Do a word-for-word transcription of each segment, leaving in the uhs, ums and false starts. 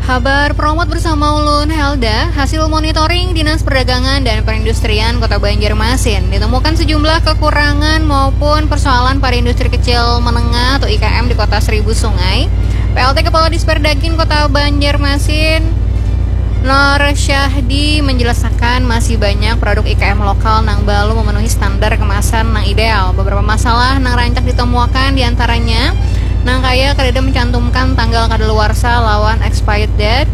Habar Promot bersama ulun Helda. Hasil monitoring Dinas Perdagangan dan Perindustrian Kota Banjarmasin, ditemukan sejumlah kekurangan maupun persoalan pada industri kecil menengah atau I K M di Kota Seribu Sungai. P L T Kepala Disperdagin Kota Banjarmasin, Nur Syahdi, menjelaskan masih banyak produk I K M lokal nang belum memenuhi standar kemasan nang ideal. Beberapa masalah nang rancak ditemuakan diantaranya nang kaya kadada mencantumkan tanggal kadaluarsa lawan expired date,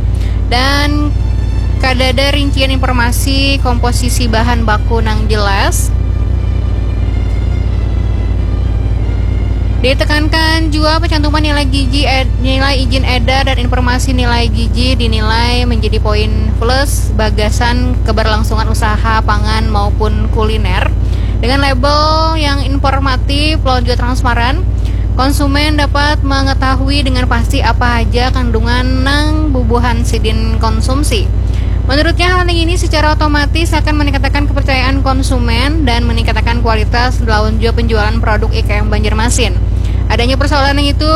dan kadada rincian informasi komposisi bahan baku nang jelas. Ditekankan jua pencantuman nilai gizi, ed, nilai izin edar dan informasi nilai gizi dinilai menjadi poin plus bagasan keberlangsungan usaha pangan maupun kuliner. Dengan label yang informatif lawan juga transparan, konsumen dapat mengetahui dengan pasti apa aja kandungan nang bubuhan sidin konsumsi. Menurutnya, hal ini secara otomatis akan meningkatkan kepercayaan konsumen dan meningkatkan kualitas lawan juga penjualan produk I K M Banjarmasin. Adanya persoalan yang itu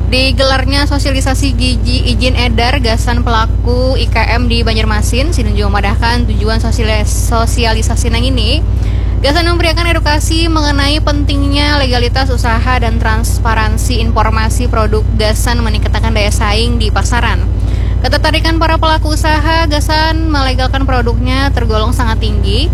digelarnya sosialisasi gizi izin edar gasan pelaku I K M di Banjarmasin. Sidin juga memadahkan tujuan sosialis, sosialisasi nang ini gasan memberikan edukasi mengenai pentingnya legalitas usaha dan transparansi informasi produk gasan meningkatkan daya saing di pasaran. Ketertarikan para pelaku usaha gasan melegalkan produknya tergolong sangat tinggi.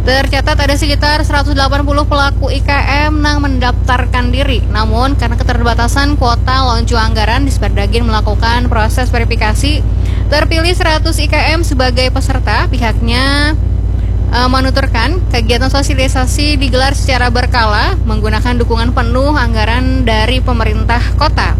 Tercatat ada sekitar seratus delapan puluh pelaku I K M nang mendaftarkan diri. Namun, karena keterbatasan kuota lawan jua anggaran, Disperdagin melakukan proses verifikasi. Terpilih seratus I K M sebagai peserta, pihaknya, eh, menuturkan kegiatan sosialisasi digelar secara berkala menggunakan dukungan penuh anggaran dari pemerintah kota.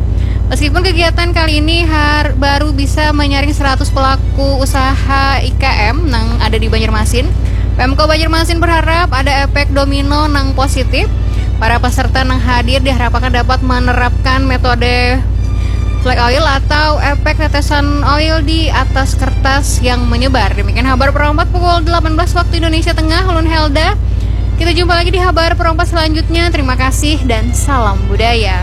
Meskipun kegiatan kali ini har, baru bisa menyaring seratus pelaku usaha I K M nang ada di Banjarmasin, Pemko Banjarmasin berharap ada efek domino nang positif. Para peserta nang hadir diharapkan dapat menerapkan metode flake oil atau efek tetesan oil di atas kertas yang menyebar. Demikian Habar Perompat pukul delapan belas waktu Indonesia Tengah, ulun Helda. Kita jumpa lagi di Habar Perompat selanjutnya. Terima kasih dan salam budaya.